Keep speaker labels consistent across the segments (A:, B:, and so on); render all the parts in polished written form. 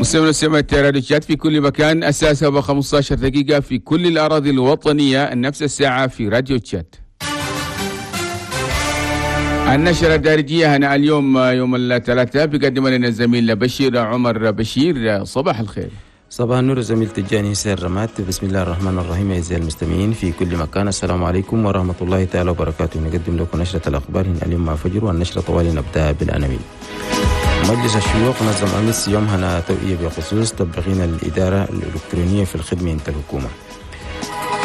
A: مستمعينا ومستمعات راديو تشاد في كل مكان، الساعة 7:15 في كل الأراضي الوطنية، نفس الساعة في راديو تشاد. النشرة الدارجية هنا اليوم يوم الثلاثاء بيقدم لنا الزميل بشير عمر بشير. صباح الخير.
B: صباح النور زميل تجاني سير رمات. بسم الله الرحمن الرحيم. أعزائي المستمعين في كل مكان، السلام عليكم ورحمة الله تعالى وبركاته. نقدم لكم نشرة الأخبار هنا اليوم مع فجر، والنشرة طوالي نبدأ بالعناوين. مجلس الشيوخ نظم أمس يوم هنا توعية بخصوص تطبيقين الإدارة الإلكترونية في الخدمة عند الحكومة.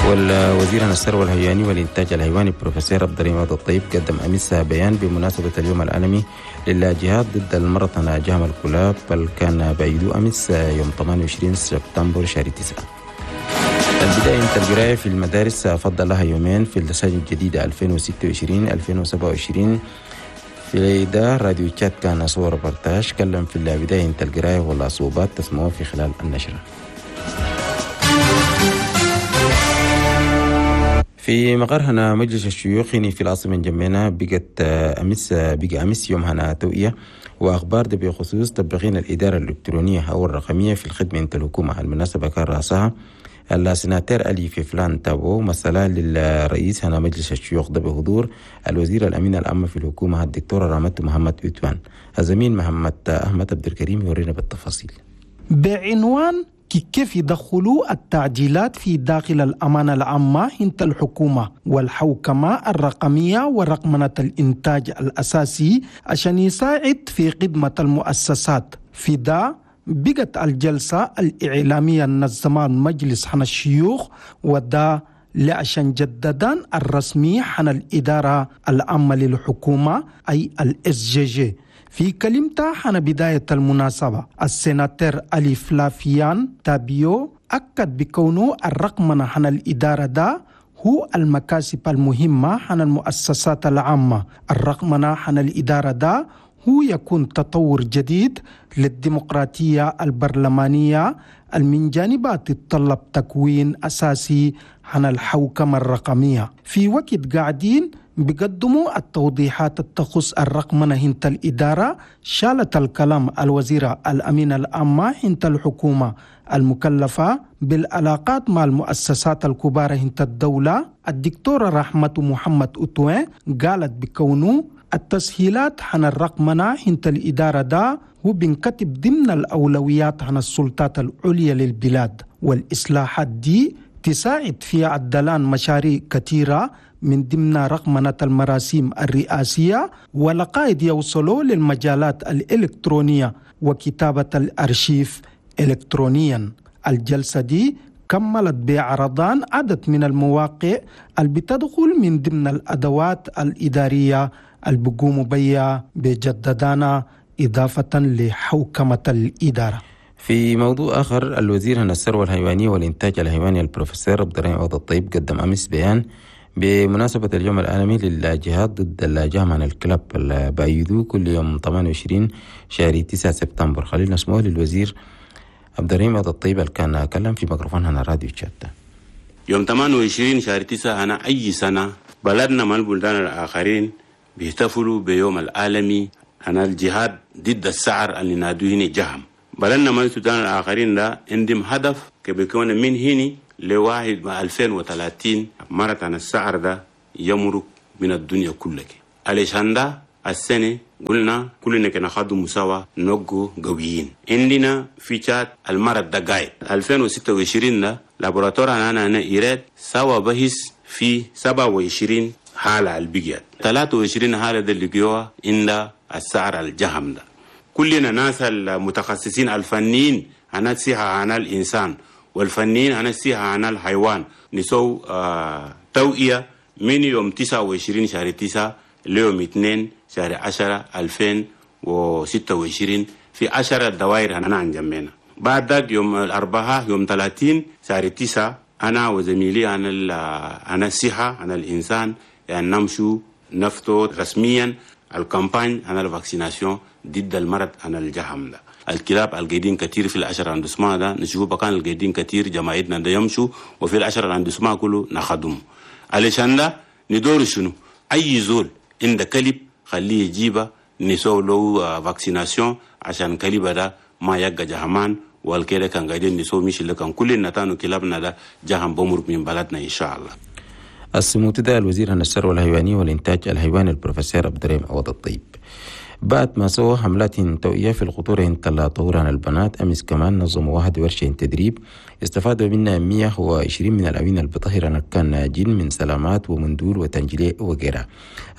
B: والوزير عن الثروة الحيواني والإنتاج الحيواني بروفيسور عبد الرحيم الطيب قدم أمس بيان بمناسبة اليوم العالمي للجهاد ضد المرض جهم الكلاب، بل كان بعيدو أمس يوم 28 سبتمبر شهر 9. البداية انت القراية في المدارس فضل لها يومين في السنة الجديدة 2026-2027. في ده راديو تشاد كان صور ريبورتاج كلم في البداية انت القراية والصعوبات تسمعوها في خلال النشرة. في مقر هنا مجلس الشيوخ في العاصمة جمينة بقت أمس بقى أمس يوم هنا توعية وأخبار ده بخصوص تطبيقين الإدارة الإلكترونية أو الرقمية في الخدمة انت الحكومة. المناسبة كان رأسها السناتير ألي في فلان تابو مسألة للرئيس هنا مجلس الشيوخ ده بحضور الوزير الأمين العام في الحكومة الدكتور رامت محمد أوتوان. الزميل محمد أحمد عبد الكريم يورينا بالتفاصيل.
C: بعنوان كيف يدخلوا التعديلات في داخل الأمانة العامة انت الحكومة والحوكمة الرقمية ورقمنة الإنتاج الأساسي عشان يساعد في خدمة المؤسسات. في ده بقت الجلسة الإعلامية النظمان مجلس حنا الشيوخ، وده لعشان جددان الرسمي حنا الإدارة العامة للحكومة أي ال SGG. في كلمته حنا بداية المناسبة السيناتور ألي فلافيان تابيو أكد بكونه الرقمنة حنا الإدارة ده هو المكاسب المهمة حنا المؤسسات العامة. الرقمنة حنا الإدارة ده هو يكون تطور جديد للديمقراطية البرلمانية من جانبها تتطلب تكوين أساسي عن الحوكمة الرقمية. في وقت قاعدين بيقدموا التوضيحات التخص الرقمنة هنت الإدارة، شالت الكلام الوزيرة الأمينة العامة هنت الحكومة المكلفة بالعلاقات مع المؤسسات الكبار هنت الدولة الدكتورة رحمة محمد أوتوين، قالت بكونه التسهيلات عن الرقمنة هنت الإدارة ده هو بنكتب ضمن الأولويات عن السلطات العليا للبلاد، والإصلاحات دي تساعد في عدلان مشاريع كثيرة من ضمن رقمنة المراسيم الرئاسية ولقائد يوصلوا للمجالات الإلكترونية وكتابة الأرشيف إلكترونيا. الجلسة دي كملت بعرضان عدد من المواقع اللي بتدخل من ضمن الأدوات الإدارية اللي بيقوموا بيها بجددانا إضافة لحوكمة الإدارة.
B: في موضوع آخر، الوزير عن الثروة الحيوانية والإنتاج الحيواني البروفيسور عبد الرحيم الطيب قدم أمس بيان بمناسبة اليوم العالمي للجهاد ضد الجهم عن الكلاب اللي بأيدوه كل يوم 28 شهر 9 سبتمبر. خلينا نسمعه للوزير عبد الرحيم الطيب اللي كان كلم في ميكروفون هنا راديو تشاد.
D: يوم 28 شهر 9 هنا أي سنة بلدنا من البلدان الآخرين بيحتفلوا بيوم العالمي عن الجهاد ضد السعر اللي نادوه هنا جهم. بلدنا من السودان الآخرين ده عندهم هدف كبيكون من هنا لواحد مع 2030 مرة عن السعر ده يمرق من الدنيا كلها. علشان ده السنة قلنا كلنا كنا خدوا مساواة نقو قويين. عندنا في تشاد المرض ده قايد 2026 ده لابوراتور أنا إيراد سوا بحث في 27 حالة البقيات 23 حالة ده اللي جوا عند السعر الجهم ده. كلنا ناس المتخصصين الفنيين عن الصحة عن الإنسان والفنيين عن الصحة عن الحيوان نسو توعية من يوم 29 شهر 9 ليوم 2 شهر 10 2026 في 10 دوائر أنا عن جنبنا. بعد ذاك يوم الأربعاء يوم 30 شهر 9 أنا وزميلي عن الصحة عن الإنسان يعني نمشوا نفتو رسميا ال campagne عن ال vaccination ضد المرض عن الجهم ده. الكلاب القايدين كثير في العشرة arrondissements ده نشوف بكان القايدين كثير جماعتنا ده يمشوا، وفي العشرة arrondissements كله نخدمه. علشان ده ندور شنو؟ أي زول عند كلب خليه يجيبه نسوي له vaccination عشان كلبه ده ما يبقى جهمان والكده كان قاعدين نسوي مش اللي كان كل النتانو كلابنا ده جهم بمرق من بلدنا إن شاء الله.
B: السموت ده الوزير عن الثروة الحيوانية والإنتاج الحيواني البروفيسور عبد الرحيم عوض الطيب. بعد ما سووا حملات توعية في الخطورة طهوران البنات، أمس كمان نظموا واحد ورشة تدريب استفادوا منها 120 من الأوين البطهرة كان ناجين من سلامات ومندول وتنجلي وغيرها.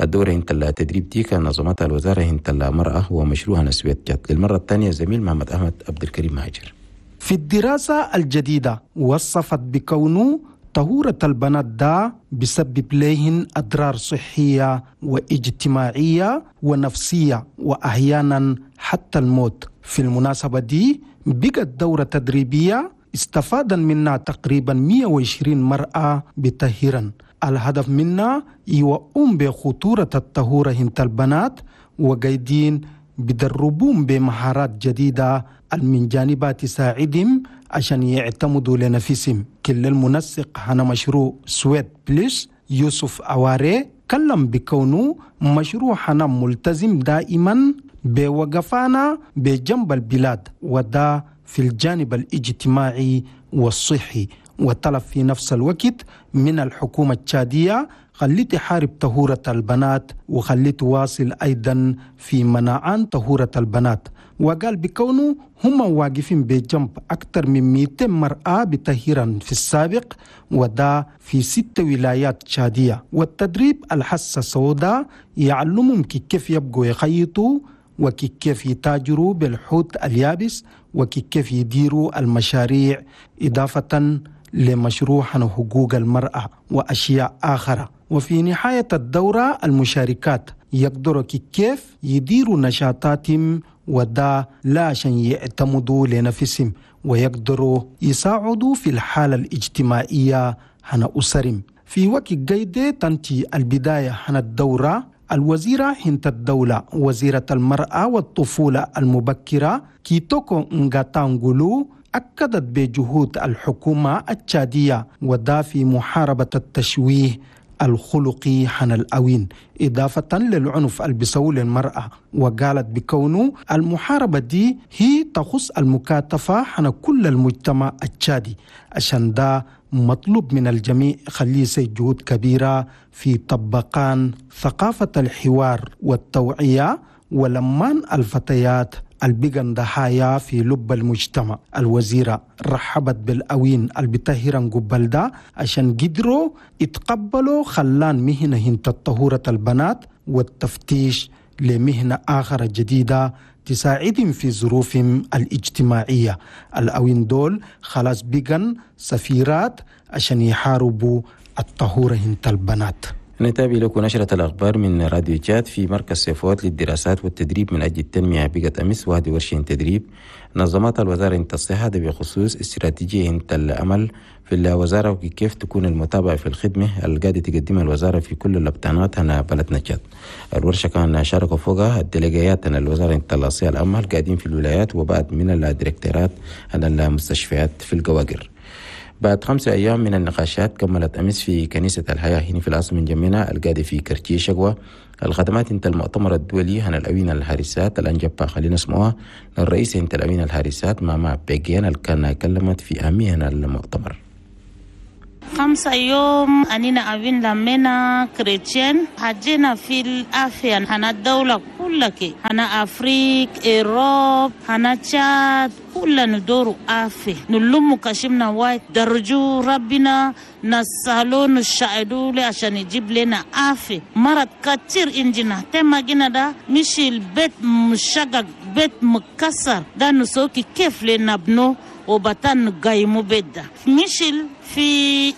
B: الدورة التدريب دي كان نظمتها الوزارة المرأة ومشروع نسوية جات للمرة الثانية. زميل محمد أحمد عبد الكريم مهاجر.
C: في الدراسة الجديدة وصفت بكونه طهورة البنات دا بسبب لهن أضرار صحية واجتماعية ونفسية وأحيانا حتى الموت. في المناسبة دي بقت دورة تدريبية استفاد منها تقريبا 120 مرأة بتهيرا. الهدف منها يوقوم بخطورة الطهورة هنت البنات وقايدين بدربون بمهارات جديدة من جانبات تساعدهم عشان يعتمدوا لنفسهم. كل المنسق هنا مشروع سويد بلس يوسف أواري كلم بكونه مشروع هنا ملتزم دائما بوقفانا بجنب البلاد وده في الجانب الاجتماعي والصحي، وطلب في نفس الوقت من الحكومة التشادية خلي تحارب طهورة البنات وخلي تواصل أيضا في منعان طهورة البنات. وقال بكونه هم واقفين بجنب أكثر من 200 مرأة بتهيرا في السابق وده في 6 ولايات تشادية. والتدريب الحصة السوداء يعلمهم كيف يبقوا يخيطوا وكيف يتاجروا بالحوت اليابس وكيف يديروا المشاريع، إضافة لمشروع حقوق المرأة وأشياء آخرى. وفي نهاية الدورة المشاركات يقدروا كيف يديروا نشاطاتهم وده لا عشان يعتمدوا لنفسهم ويقدروا يساعدوا في الحالة الاجتماعية هنا أسرهم. في وقت قيدة تنتهي البداية هنا الدورة، الوزيرة هنت الدولة وزيرة المرأة والطفولة المبكرة كيتوكو نغاتانغولو أكدت بجهود الحكومة التشادية وده في محاربة التشويه الخلقي حن الأوين إضافة للعنف البسول للمرأة. وقالت بكونه المحاربة دي هي تخص المكاتفة حن كل المجتمع التشادي، عشان ده مطلوب من الجميع خليه جهود كبيرة في طبقان ثقافة الحوار والتوعية ولمان الفتيات البقن ضحايا في لب المجتمع. الوزيرة رحبت بالأوين البتهيران قبل ده عشان قدروا يتقبلوا خلان مهنة هنت طهورة البنات والتفتيش لمهنة آخرة جديدة تساعدهم في ظروفهم الاجتماعية. الأوين دول خلاص بقن سفيرات عشان يحاربوا الطهورة هنت البنات.
B: نتابع لكم نشرة الأخبار من راديو تشاد. في مركز سيفوت للدراسات والتدريب من أجل التنمية بقت أمس وهذه ورشة تدريب نظمتها الوزارة الصحة بخصوص استراتيجية العمل في الوزارة وكيف تكون المتابعة في الخدمة القاعدة تقدمها الوزارة في كل الأبطانات هنا بلدنا تشاد. الورشة كان شاركوا فوقها الديليجيات الوزارة الصحة العامة القاعدين في الولايات وبعد من الديركتورات على المستشفيات في القواقر. بعد 5 أيام من النقاشات كملت أمس في كنيسة الحياة هنا في العاصمة جمينة القاعدة في كرتي شقوة الخدمات انت المؤتمر الدولي هنا الأوين الحارسات الأنجبا خلينا اسمها للرئيس انت الأوين الحارسات ماما بيجيان اللي كان كلمت في أهمية المؤتمر.
E: 5 يوم أنينا أبين لمنا كريتشين حجينا في الأفيا هنا الدولة كلها هنا أفريق إيروب هنا تشاد كلنا ندور أفي نلم كشمنا وايد درجو ربنا نسألو نشاهدو لي عشان يجيب لنا أفي مرض كتير إنجنا تما جينا ده مش البيت مشقق بيت مكسر ده نسوكي كيف لنا بنو وبطن قايمو بيت ده مشل في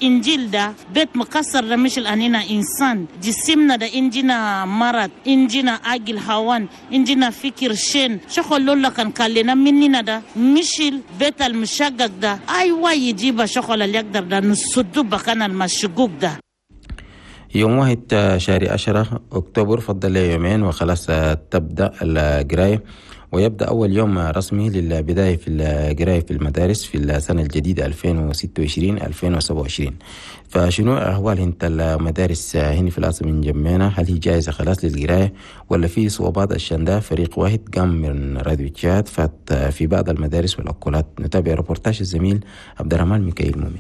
E: إنجيل ده بيت مكسر ده مشل أنينا إنسان جسمنا ده إنجينا مرض إنجينا أجل هوان إنجينا فكر شين شغل لولا كان كلنا مننا ده مشل بيت المشقق ده أيوة يجيب شغل اللي يقدر ده نسدو بكان المشقوق ده.
B: يوم 1 شهر 10 أكتوبر فضل يومين وخلاص تبدأ القراية ويبدأ أول يوم رسمي للبداية في القراية في المدارس في السنة الجديدة 2026-2027. فشنو أحوال انت المدارس هنا في العاصمة انجمينا؟ هل هي جاهزة خلاص للقراية ولا في صعوبات؟ عشان ده فريق واحد قام من راديو تشاد فات في بعض المدارس والأكولات. نتابع ريبورتاج الزميل عبد الرحمن ميكائيل مؤمن.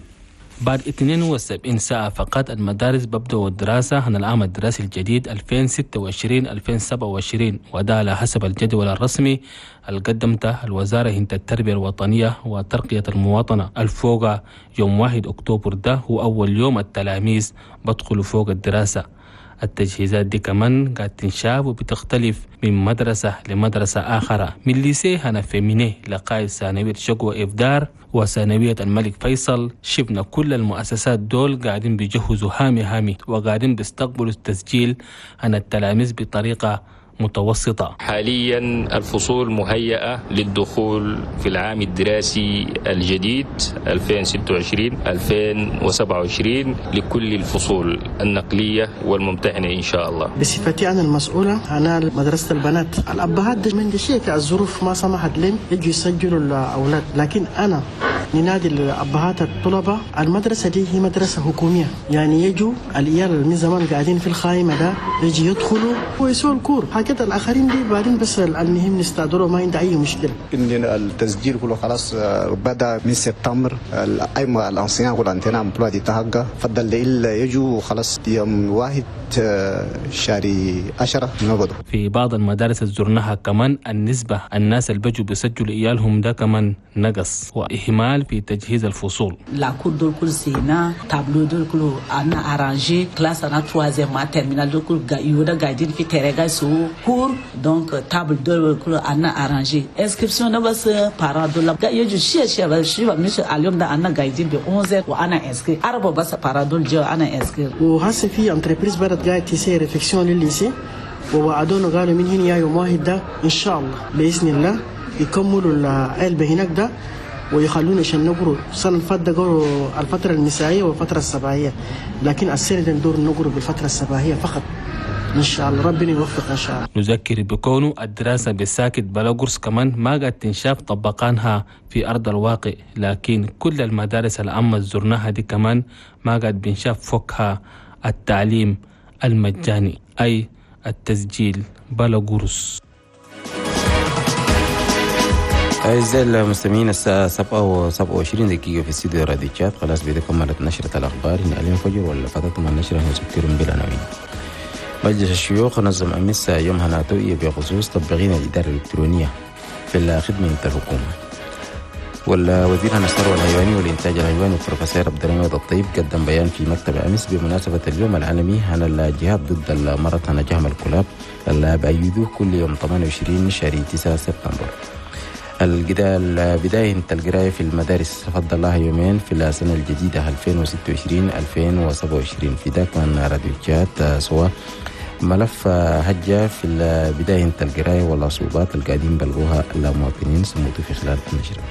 F: بعد 72 ساعة فقط المدارس ببدأوا الدراسة عن العام الدراسي الجديد 2026-2027، وده على حسب الجدول الرسمي اللي قدمته الوزارة هند التربية الوطنية وترقية المواطنة. الفوق يوم 1 أكتوبر ده هو أول يوم التلاميذ بدخلوا فوق الدراسة. التجهيزات دي كمان قاعد تنشاف وبتختلف من مدرسة لمدرسة آخرى، من lycée هنا féminin لقاية ثانوية شقوة إفدار وثانوية الملك فيصل. شفنا كل المؤسسات دول قاعدين بيجهزوا هامي هامي وقاعدين بيستقبلوا التسجيل عن التلاميذ بطريقة متوسطة.
G: حاليا الفصول مهيئة للدخول في العام الدراسي الجديد 2026-2027 لكل الفصول النقلية والممتحنة إن شاء الله.
H: بصفتي أنا المسؤولة أنا مدرسة البنات، الأبهات من شيء الظروف ما سمحت لهم يجوا يسجلوا الأولاد، لكن أنا ننادي الأبهات الطلبة. المدرسة دي هي مدرسة حكومية، يعني يجوا العيال من زمان قاعدين في الخايمة ده يجي يدخلوا ويسووا ال cours، حاجات الآخرين دي بعدين بس المهم نستعدلوا، ما عندي أي مشكلة.
I: إن التسجيل كله خلاص بدأ من سبتمبر، الأيمة ال enseignants كل عندنا emploi du temps فضل إلا يجوا خلاص يوم 1 شهر 10 نبدو.
F: في بعض المدارس زرناها كمان النسبة الناس اللي بيجوا بيسجلوا إيالهم ده كمان نقص وإهمال في تجهيز الفصول.
J: la cour دول كل سينا تابلو دول كله أنا arrangé classe أنا troisième terminale دول كل يودا قاعدين في ترجع سو cours donc table دول كله أنا arrangé inscription ده بس parents دول يجوا شيء شيء بس شيء مش اليوم ده أنا قاعدين ب 11 وأنا inscrit أربعة بس parents دول جو أنا inscrit.
H: وهسه في entreprise بدت قاعد تسير réfection لل lycée، ووعدونا قالوا من هنا يا يوم 1 ده إن شاء الله بإذن الله يكملوا العلبة هناك ده ويخلونا عشان نقروا. السنة اللي فاتت قروا الفترة المسائية والفترة الصباحية، لكن السنة دي ندور نقروا بالفترة الصباحية فقط إن شاء الله، ربنا يوفق إن شاء الله.
F: نذكر بكونه الدراسة بالساكت بلا قرص كمان ما قد تنشاف طبقانها في أرض الواقع، لكن كل المدارس العامة زرناها دي كمان ما قد بنشاف فوقها التعليم المجاني أي التسجيل بلا قرص.
B: أعزائي المستمعين، الساعة 7:27 في استديو راديو تشاد. خلاص بيدا كملت نشرة الأخبار هنا اليوم فجر، ولا فاتتكم النشرة نذكركم بالعناوين. مجلس الشيوخ نظم أمس يوم هنا توعية بخصوص تطبيقين الإدارة الإلكترونية في الخدمة الحكومة. والوزير الثروة الحيواني والإنتاج الحيواني البروفيسور عبد الرحمن الطيب قدم بيان في مكتب أمس بمناسبة اليوم العالمي عن الجهاد ضد المرض عن جهم الكلاب اللي بأيدوه كل يوم 28 شهر 9 سبتمبر. البداية القراية في المدارس فضل الله يومين في السنة الجديدة 2026-2027. في ذاك من راديو تشاد سوا ملف هجة في البداية القراية والصعوبات القاعدين بلغوها المواطنين سموتوا في خلال النشرة.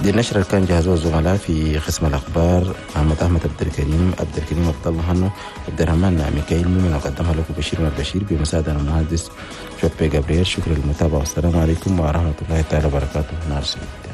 B: دي النشرة كان جهزوها الزملاء في قسم الأخبار أحمد أحمد عبد الكريم عبد الكريم عبد الله هنو عبد الرحمن ميكائيل مؤمن، وقدمها لكم بشير البشير بمساعدة المهندس شوبي جابرييل. شكرا للمتابعة والسلام عليكم ورحمة الله تعالى وبركاته. نهار سعيد.